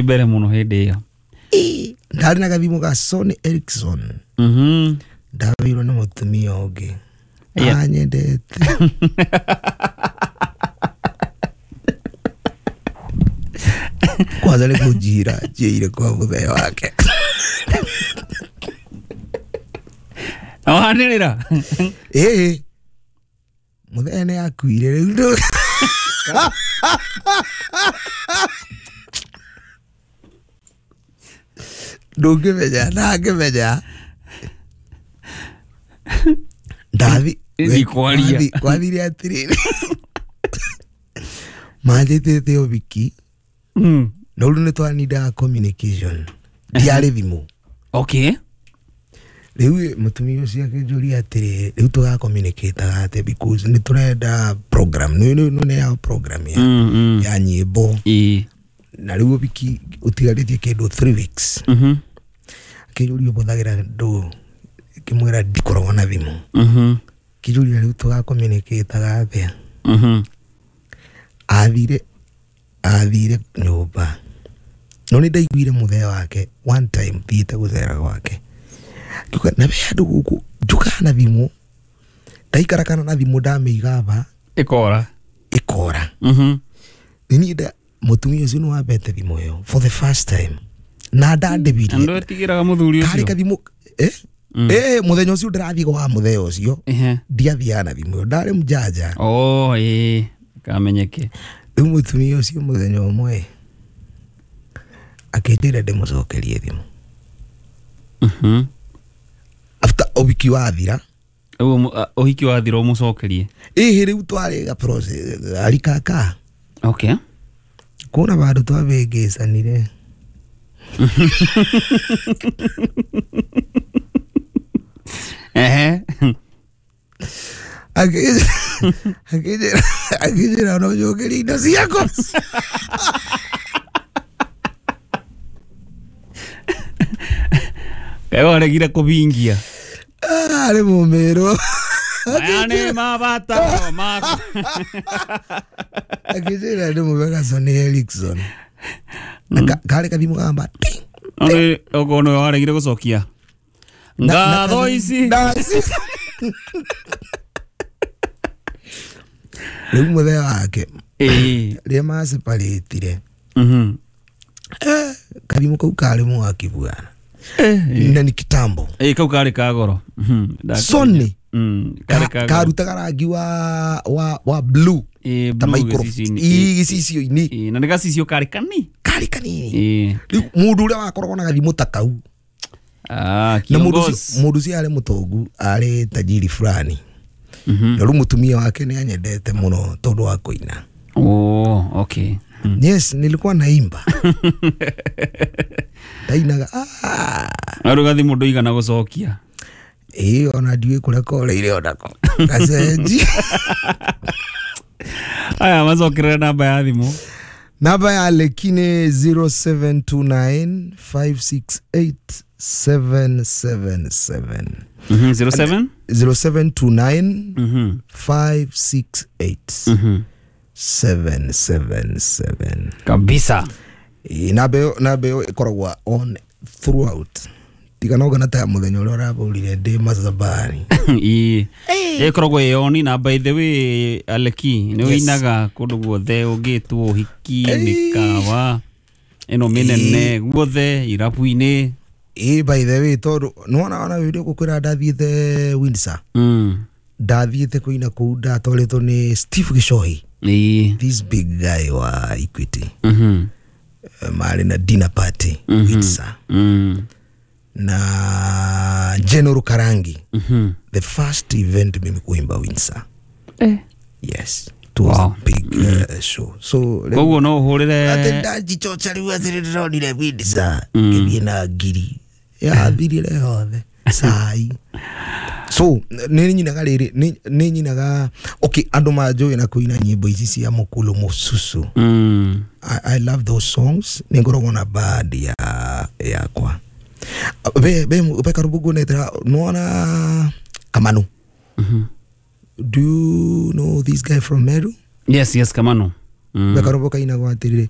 Mbere mũno hĩndĩ ĩyo. Ndarĩ na gathimũ ga Sony Ericsson. Ndaheirwo nĩ mũtumia ũngĩ anyendete. Kwanza nĩ kũnjira njĩire kwa mũthee wake. Na wanĩrĩra. Ĩĩ, mũthee nĩ akuire rĩu. Ndũngĩmenya ndangĩmenya. Ndathi Ndikwaria. Kwathire atĩrĩrĩ, manjĩtĩte ũhiki. No rĩu nĩ twanindaga communication, ndiarĩ thimũ. Rĩu mũtumia ũcio akĩnjũria atĩrĩrĩ, rĩu tũgacommunicataga atĩa, because nĩ tũrenda program nĩ ya program ya, ya nyĩmbo. Na rĩu ũhiki ũtigarĩtie kĩndũ 3 weeks. Akĩnjũria ũhũthagĩra ndũ, ngĩmwĩra ndikoragwo na thimũ. Akĩnjũria rĩu tũgacommunicataga atĩa. Athire nyũmba, no nĩ ndaiguire mũthee wake one time thiĩte gũcera gwake, akiuga na we andũ gũkũ njũkaga na thimũ, ndaikara kana na thimũ ndamĩiga ba Ĩkora. Ĩkora. Nĩ niĩ nda mũtumia ũcio nĩ wambete thimũ ĩyo for the first time na ndandĩbirie. Na ndwetigĩraga mũthuri karĩ ũcio? Kathimũ mũthenya ũcio ndĩrathiĩ kwa mũthee ũcio, ndiathiaga na thimũ ĩyo, ndarĩ mjanja. Oh, ĩĩ, kamenyeke. Rĩu mũtumia ũcio mũthenya ũmwe akĩnjĩra ndĩmũcokerie thimũ after ũhiki wathira. Ũguo ũhiki wathira ũmũcokerie? Ĩhĩ, rĩu twarĩ ga process arikaka. Kuna vandũ twabĩngĩcanire. Akĩnjĩra no njokerie indo ciakwa. Kaĩ waregire kũbingia? Arĩ mũmĩrũ. Maya nĩ mabataro maku. Akĩnjĩra ndĩmũhe ga Sony Ericsson. Na karĩ kathimũ kamba ting. Okorwo nĩwe waregire gũcokia, ngatho ici. Rĩu mũthee wake rĩrĩa maceparĩtire, kathimũ kau karĩ mwaki bwana, na ni kitambo. Ĩĩ, kau karĩ ka goro. Sony. Karĩ ka goro. Karutaga rangi wa blue ta blue. Micro gĩcicio-inĩ. Ĩĩ, gĩcicio-inĩ. Ĩĩ, na nĩ gacicio karĩ kani Karĩ kanini. Rĩu mũndũ ũrĩa wakoragwo na gathimũ ta kau na mũndũ ũcio kiongozi. Mũndũ ũcio arĩ mũtongu, arĩ tajiri fulani. Na rĩu mũtumia wake nĩ anyendete mũno tondũ wa kũina. Oh, okay. Yes, nilikuwa naimba, ndainaga. Na rĩu gathimũ ndũigana gũcokia? Ĩĩ, ona ndiũĩ kũrĩa koreire onako gacenji. Aya, macokerere namba ya thimũ. Namba ya Leki nĩ 0729 568 777. 07 0729 568 777. Kabisa. Ĩĩ, namba ĩyo ĩkoragwo on throughout, tiga no kana ta mũthenya ũrĩa ũrabũrire ndĩ macabari. Ĩĩ, ĩkoragwo ĩ on. Na by the way, Aleki nĩ ũinaga kũndũ guothe ũngĩtwo, ũhiki, mĩkawa ĩno mĩnene, guothe, irabu-inĩ. Ĩĩ, by the way, tondũ nĩwona ona video gũkwĩra ndathiĩte Windsor. Ndathiĩte kũina kũu, ndatwarĩtwo nĩ Steve Gichohi, this big guy wa Equity. Marĩ na dinner party Windsor na General Karangi. The first event mimi kuimba Windsor. Yes, it was a big show, so Koguo no ũhũrĩre. Atĩ ndajichocha rĩu atĩ nĩndĩronire Windsor, ngĩthiĩ na ngiri yathirire yothe cai. So nĩ nyinaga rĩrĩ, nĩ nyinaga, okay, andũ manjũĩ na kũina nyĩmbo ici cia mũkulu mũcucu. I love those songs. Nĩ ngoragwo na band ya yakwa be karibu guonetera nona Kamanu. Do you know this guy from Meru? Yes, Kamanu. Be karibu kainagwo atĩrĩrĩ.